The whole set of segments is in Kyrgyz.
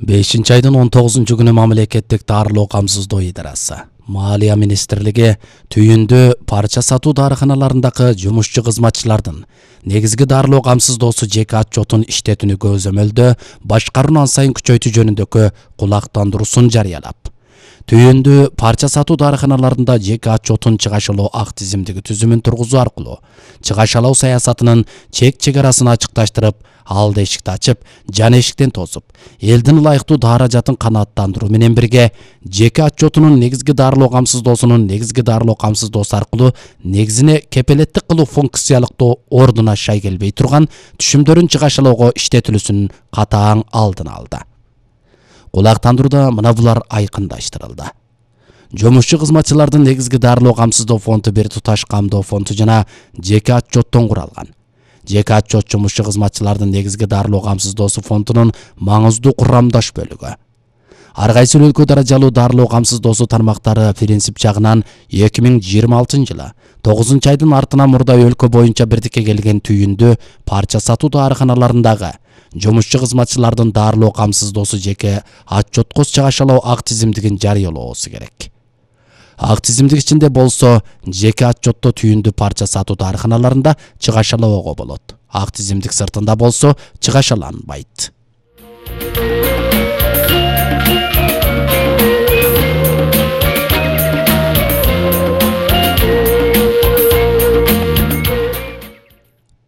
5-айдын 19-күнү мамлекеттик дарылоо камсыздоо идарасы Малия министрлиги түйүндө парча сатуу дарыканаларындагы жумушчу кызматчылардын негизги дарылоо камсыздоосу жеке отчетун иштетүүнү көзөмөлдө башкарууну ан сайын күчөйтүү жөнүндөгү кулактандыруусун жарыялап, түйүндө парча сатуу дарыканаларында жеке отчетун чыгашалоо ак тизимдиги түзүмүн тургузуу аркылуу чыгашалоо саясатынын чек-чегарасын ачыкташтырып, алды эшикти ачып, жан эшиктен тосуп, элдин ылайыктуу даражатын канааттандыруу менен бирге жеке отчетунун негизги дарылоо камсыздоосунун негизги дарылоо камсыздоосу аркылуу негизине кепелеттик кылуу функциялыктоо ордуна шай келбей турган түшүмдөрүн чыгашалоого иштетилүүсүнүн катаң алдын алды. Кулактандырууда мына булар айкындаштырылды. Жумушчу кызматчылардын негизги дарылоо камсыздоо фонду бир туташ камдоо фонду жана жеке отчеттон куралган. Жеке отчет жумушчу кызматчылардын негизги дарылоо камсыздоосу фондунун маңыздуу курамдаш бөлүгү. Ар кайсы өлкө даражалуу дарылоо камсыздоосу тармактары принцип жагынан 2026-жылы 9-айдын артынан мурда өлкө боюнча бирдикке келген түйүндө парча сатуу дарыканаларындагы жумушчу кызматчылардын дарылоо камсыздоосу жеке отчетко чыгашалоо ак тизимдигин жарыялоосу керек. Ак тизимдик ичинде болсо жеке отчетто түйүндү парча сатуу дарыканаларында чыгашалоого болот. Ак тизимдик сыртында болсо чыгашаланбайт.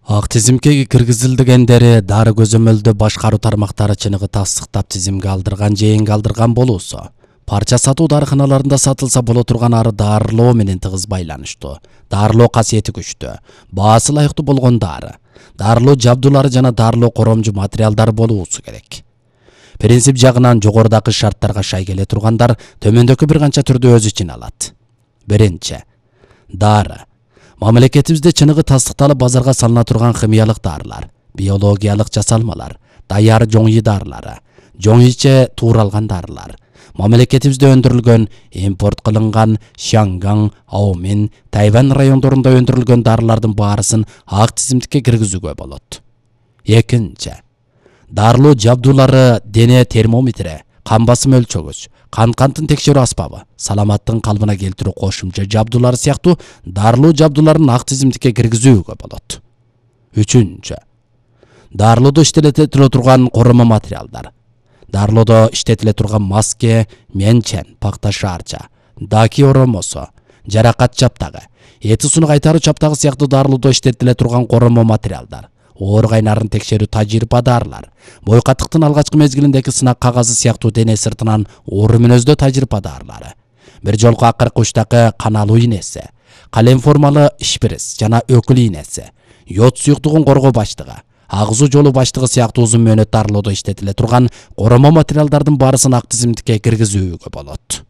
Ак тизимге киргизилгендери дары көзөмөлдө башкаруу тармактары чыныгы тастыктап тизимге алдырган же эң алдырган болуусу, парча сатуу дарыканаларында сатылса боло турган ары дарылоо менен тыгыз байланыштуу, дарылоо касиети күчтүү, баасы ылайыктуу болгон дары, дарылоо жабдуулары жана дарылоо коромжу материалдары болуусу керек. Принцип жагынан жогорудагы шарттарга шай келе тургандар төмөндөгү бир канча түрдө өз ичине алат. Биринчи, дары. Мамлекетибизде чыныгы тастыкталып базарга салына турган химиялык дарылар, биологиялык жасалмалар, даяр жоңүй дарылары, жоңүйче тууралган дарылар, мамлекетибизде өндүрүлгөн, импорт кылынган Шанган, Аомин, Тайвань райондорунда өндүрүлгөн дарылардын баарысын ак тизимдикке киргизүүгө болот. Экинчи, дарылоо жабдуулары дене термометри, кан басым өлчөгүч, кантын текшерүү аспабы, саламаттыгын калыбына келтирүү кошумча жабдуулары сыяктуу дарылоо жабдууларын ак тизимдикке киргизүүгө болот. Үчүнчү, дарылоодо иштетиле турган коромо материалдар. Дарылоодо иштетиле турган маске, менчен, пакта шаарча, даки оромосу, жаракат чаптагы, эти сууну кайтаруу чаптагы сыяктуу дарылоодо иштетиле турган коромо материалдар, оор кайнарын текшерүү тажрыйба дарылар, бой катыктын алгачкы мезгилиндеги сынак кагазы сыяктуу дене сыртынан оор мүнөздөө тажрыйба дарылары, бир жолку акыркы учтагы каналуу ийнеси, калем формалы шприц жана өкүл ийнеси, йод суюктугун коргоо баштыгы, агзуу жолу баштыгы сыяктуу узун мөөнөт дарылоодо иштетиле турган коромо материалдардын баарысын ак тизимдикке киргизүүгө болот.